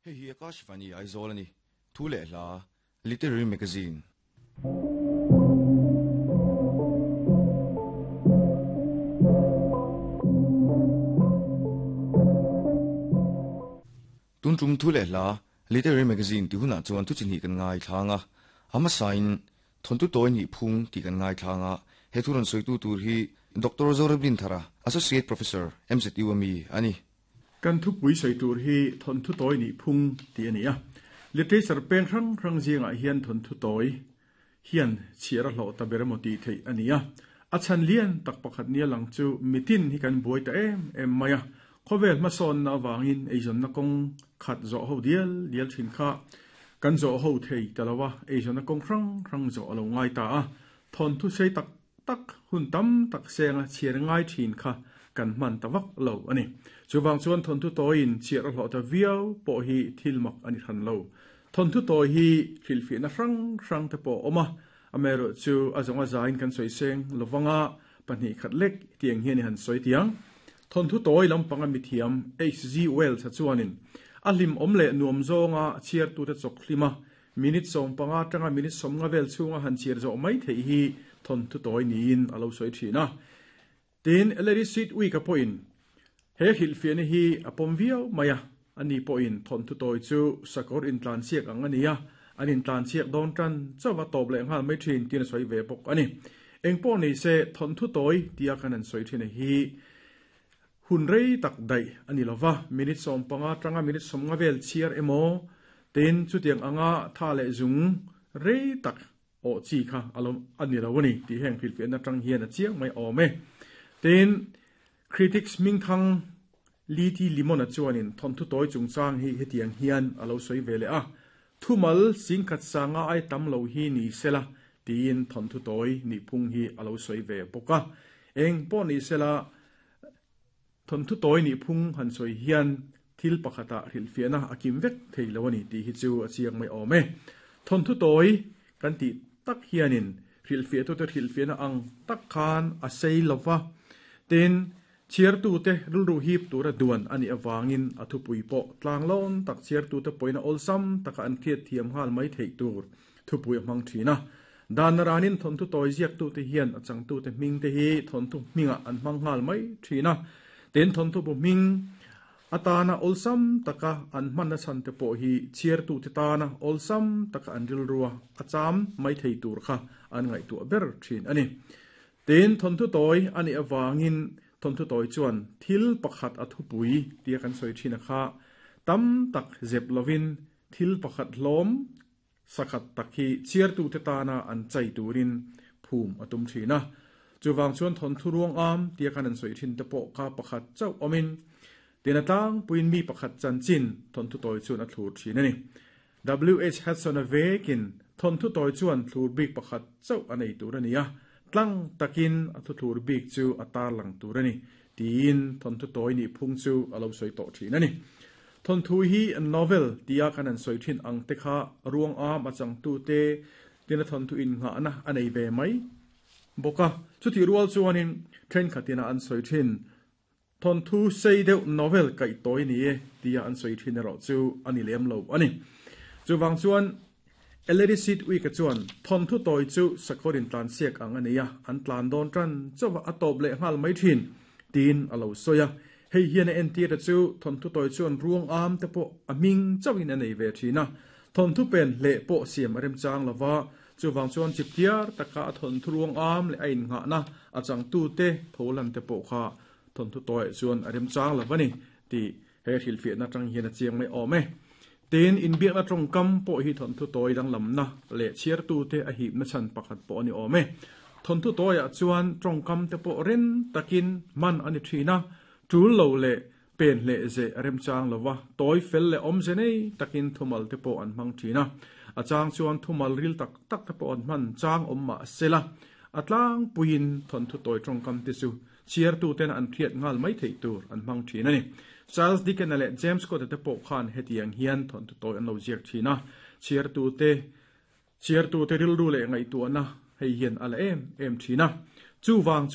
Hei hi Akashvani Aizawl a ni. Thu leh hla, Literary Magazine. Tun tum thu leh hla, Literary Magazine tih hunah chuan thu chi hnih kan ngaithlang a. A hmasain Thawnthu tawi nih phung tih kan ngaithlang a. He thu rawn sawitu tur hi Doctor Zoramdinthara, Associate Professor, MZU a mi a ni. Kan thupui sawi tur hi thawnthu tawi nih phung tih a ni a. Literature peng hrang hrang zingah hian thawnthu tawi hian chhiar a hlawh ta ber emaw tih theih a ni a. A chhan lian tak pakhat nia lang chu mitin hi kan buai ta em em mai a. Khawvel hmasawnna avangin eizawnna kawng khat zawh ho dial dial thin kha kan zawh ho thei ta lo a, eizawnna kawng hrang hrang zawh a lo ngai ta a. Thawnthu sei tak tak hun tam tak senga chhiar ngai thin kha kan hman ta vak lo a ni. Chuvang chuan thawnthu tawiin chhiar a hlawh ta viau pawh hi thil mak a ni hran lo. Thawnthu tawi hi hrilhfiahna hrang hrang te pawh a awm a, amaherawh chu a zawng a zain kan sawi seng lovanga pahnih khat lek tiang hian i han sawi tiang. Thawnthu tawi lampanga mithiam HG Wells-a chuanin a hlimawm leh nuam zawnga chhiartute chawk hlim a, Minute 15 atanga minute 50 vel chhunga han chhiar zawh mai theih hi thawnthu tawi niin a lo sawi thin a. Tin, Larry Sweetwick-a pawhin he hrilhfiahna hi a pawm viau mai a, ani pawhin thawnthu tawi chu sakawr intlansiak ang a ni a, an intlansiak dawn tan chauh a tawp leh nghal mai thin tiin a sawi ve bawk a ni. Engpawh ni se, thawnthu tawi tia kan han sawi thin a hi Hun rei tak daih a ni lova, minute 15 atanga minute 50 vel chhiar emaw tin chutiang anga tha leh zung rei tak awh chi kha a lo a ni lo a ni tih heng hrilhfiahna atang hian a chiang mai awm e. Tin, critics hmingthang Lee T. Limon-a chuanin thawnthu tawi chungchang hi hetiang hian a lo sawi ve leh a, Thumal singkhat sanga ai tam lo hi ni sela tiin thawnthu tawi nihphung hi a lo sawi ve bawk a. Eng pawh ni sela, Thawnthu tawi nih phung han sawi hian thil pakhatah hrilhfiahna a kim vek thei lo a ni tih hi chu a chiang mai awm e. Thawnthu tawi kan tih tak hianin hrilhfiahtute hrilhfiahna ang tak khan a sei lo va, tin, chhiartute rilru hip tura duan a nih avangin a thupui pawh tlanglawn tak chhiartute pawhin a awlsam taka an hriatthiam nghal mai theih tur thupui a hmang thin a. Dan ranin thawnthu tawi ziaktute hian a changtute hmingte hi thawnthu hmingah an hmang nghal mai thin a. Tin, thawnthu bu hming atana awlsam taka an hmanna chhan te pawh hi chhiartute tana awlsam taka an rilrua a cham mai thei tur kha an ngaihtuah ber thin a ni. Tin, thawnthu tawi a nih avangin thawnthu tawi chuan thil pakhat a thupui tia kan sawi thin a kha tam tak zep lovin thil pakhat hlawm Sakhat tak hi chhiartute tana an chai turin phum a tum thin a. Chuvang chuan thawnthu ruang am tia khan an sawi thin te pawh kha pakhat chauh awmin tina tlangpuiin mi pakhat chanchin thawnthu tawi chuan a thlur thin a ni. WH Hudson-a vekin thawnthu tawi chuan thlur bik pakhat chauh a nei tur a ni a, tlang takin a thuthlur bik chu a tarlang tur a ni tiin thawnthu tawi nih phung chu a lo sawi tawh thin a ni. Thawnthu hi novel tia kan han sawi thin ang te kha ruang am a changtute tina thawnthu innghahna a nei ve mai bawk a. Chutih rual chuanin thenkhatina an sawi thin thawnthu sei deuh novel kaih tawi ni e tia an sawi thin erawh chu a ni lem lo a ni. Chuvang chuan Ellery Sidwick-a chuan thawnthu tawi chu sakawr intlansiak ang a nei a, an tlan dawn tan chauh a, a tawp leh nghal mai thin, tiin a lo sawi a. Hei hian a entir ta chu thawnthu tawi chuan ruang am te pawh a hming chauhin a nei ve thin a, thawnthu pen hleh pawh siam a remchang lo va, chuvang chuan chiptiar taka a thawnthu ruang am leh a innghahna a changtute tholan te pawh kha thawnthu tawiah chuan a remchang lo va ni tih He hrilhfiahna atang hian a chiang mai awm e. Tin, inbiakna tawngkam pawh hi thawnthu tawi danglamna leh chhiartute a hipna chhan pakhat pawh a ni awm e. Thawnthu tawiah chuan tawngkam te pawh ren takin hman a ni thin a, tul lo leh pen hleh zeh a remchang lo va, tawi fel leh awmze nei takin thumal te pawh an hmang thin a. A chang chuan thumal ril tak tak te pawh an hman chang awm mah sela, a tlangpuiin thawnthu tawi tawngkam te chu Chhiartuten an hriat nghal mai theih tur an hmang thin a ni. Charles Dickens-a leh James Scott-a te pawh khan hetiang hian thawnthu tawi an lo ziak thin a, chhiartute chhiartute rilru leh ngaihtuahna hei hian a la em em thin a. Chuvang chu.